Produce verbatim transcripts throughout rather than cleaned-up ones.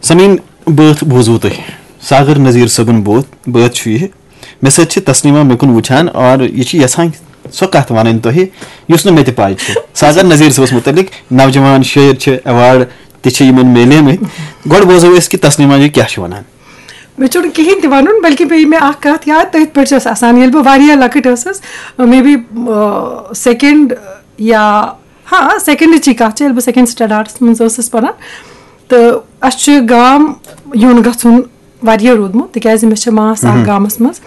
سمین، بٲتھ بوزوٕ تۄہہِ؟ ساغر نذیر صٲبُن بوتھ بٲتھ چھُ یہِ۔ مےٚ سۭتۍ چھِ تسلیمہ مےٚ کُن وٕچھان اور یہِ چھِ یژھان سۄ کتھ ونٕنۍ تۄہہِ یُس نہٕ مےٚ تہِ پاے چھِ۔ ساغر نذیر صٲبس متعلق نوجوان شٲعر چھِ، ایوارڈ تہِ چھِ یِمن میلیمٕتۍ۔ گۄڈٕ بوزو أسۍ کہِ تسلیمہ جی کیٛاہ چھِ ونان۔ مےٚ چھُنہٕ کِہیٖنۍ تہِ وَنُن، بلکہِ پیٚیہِ مےٚ اَکھ کَتھ یاد، تٔتھۍ پٮ۪ٹھ چھَس آسان۔ ییٚلہِ بہٕ واریاہ لۄکٕٹ ٲسٕس، مے بی سیکنڈ یا، ہاں، سیکنڈٕچی کَتھ چھِ، ییٚلہِ بہٕ سیکنڈ سٹینڈاڈَس منٛز ٲسٕس پَران، تہٕ اَسہِ چھُ گام یُن گژھُن واریاہ روٗدمُت، تِکیٛازِ مےٚ چھِ ماس اَکھ گامَس منٛز،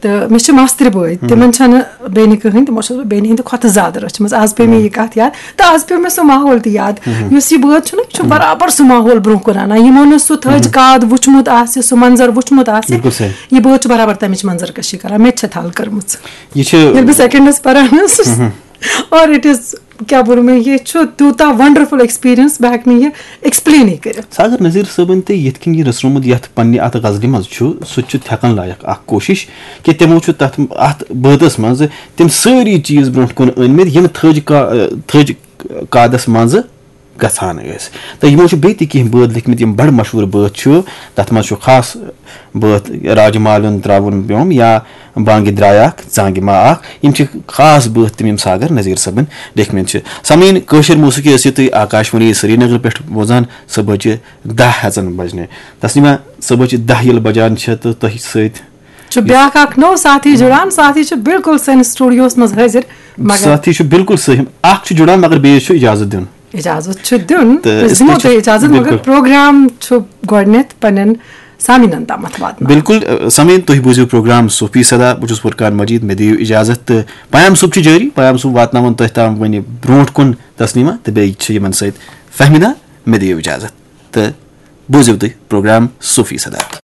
تہٕ مےٚ چھِ ماستٕرۍ بٲے، تِمَن چھَنہٕ بیٚنہِ کٕہٕنۍ، تِمو چھَس بہٕ بیٚنہِ ہِنٛدِ کھۄتہٕ زیادٕ رٔچھمٕژ۔ آز پیٚیہِ مےٚ یہِ کَتھ یاد، تہٕ آز پیٚو مےٚ سُہ ماحول تہِ یاد۔ یُس یہِ بٲتھ چھُنہ، یہِ چھُ برابر سُہ ماحول برونٛہہ کُن اَنان۔ یِمو نہٕ سُہ تھٔج کاد وٕچھمُت آسہِ، سُہ منظر وٕچھمُت آسہِ، بِلکُل صحیح۔ یہِ بٲتھ چھُ برابر تَمِچ منظر کٔشی کران۔ مےٚ تہِ چھےٚ تھل کٔرمٕژ۔ یہِ چھِ ییٚلہِ بہٕ سیکنڈس پران ٲسٕس، اور اِٹ اِز، کیٛاہ ووٚن مےٚ، یہِ چھُ تیوٗتاہ ونڈرفل ایکسپیرینس، بہٕ ہٮ۪کہٕ نہٕ یہِ ایکسپلینٕے کٔرِتھ۔ ساغر نذیر صٲبن تہِ یِتھ کٔنۍ یہِ رٔژھرومُت یتھ پننہِ اتھ غزلہِ منٛز چھُ، سُہ تہِ چھُ تھٮ۪کن لایق اکھ کوٗشش کہِ تِمو چھُ تتھ اتھ بٲتس منٛز تِم سٲری چیٖز برونٛٹھ کُن أنۍ مٕتۍ، یِم تھٔج کا-، تھٔج کادس منٛزٕ گژھان ٲسۍ۔ تہٕ یِمو چھِ بیٚیہِ تہِ کینٛہہ بٲتھ لیکھمٕتۍ، یِم بڑٕ مشہوٗر بٲتھ چھِ۔ تتھ منٛز چھُ خاص بٲتھ راجہِ مالُن ترٛاوُن پیوم یا بانگہِ درٛاے اکھ، ژانگہِ ما اکھ۔ یِم چھِ خاص بٲتھ تِم، یِم ساغر نذیر صٲبن لیکھمٕتۍ چھِ۔ سمعیٖن، کٲشِر موسیقی ٲسِو تُہۍ آکاشوانی سرینگر پٮ۪ٹھ بوزان صبحٲچہِ دَہ ہٮ۪ژن بجنہِ۔ تسلیمہ، صبحٲچہِ دَہ ییٚلہِ بجان چھِ تہٕ تۄہہِ سۭتۍ چھُ بیٛاکھ اکھ نوٚو ساتھی جُڑان۔ ساتھی چھُ بالکل سٲنِس studio-ہس منٛز حٲضِر، مگر ساتھی چھُ بالکل صحیح۔ اکھ چھُ جُڑان، مگر بیٚیِس چھُ اجازت دیُن۔ اجازت چھُ دیُن، تہٕ أسۍ اس دِمو لیے چھُ تۄہہِ اجازت، مگر بالکل۔ پروگرام چھُ گۄڈٕنٮ۪تھ پننٮ۪ن سامعیٖنن تامَتھ واتناوُن۔ بالکل، ٲ، سامعیٖن، تُہۍ بوٗزِو پروگرام صوفی صدا۔ بہٕ چھُس فرقان مجید، مےٚ دِیِو اجازت تہٕ پیام صٲب چھُ جٲری۔ پیام صٲب واتناوَن تۄہہِ تام وۄنۍ برونٛٹھ کُن تسلیمہ تہٕ بیٚیہِ چھِ یِمن سۭتۍ فہمیدہ۔ مےٚ دِیِو اجازت تہٕ بوٗزِو تُہۍ پروگرام صوفی صدا۔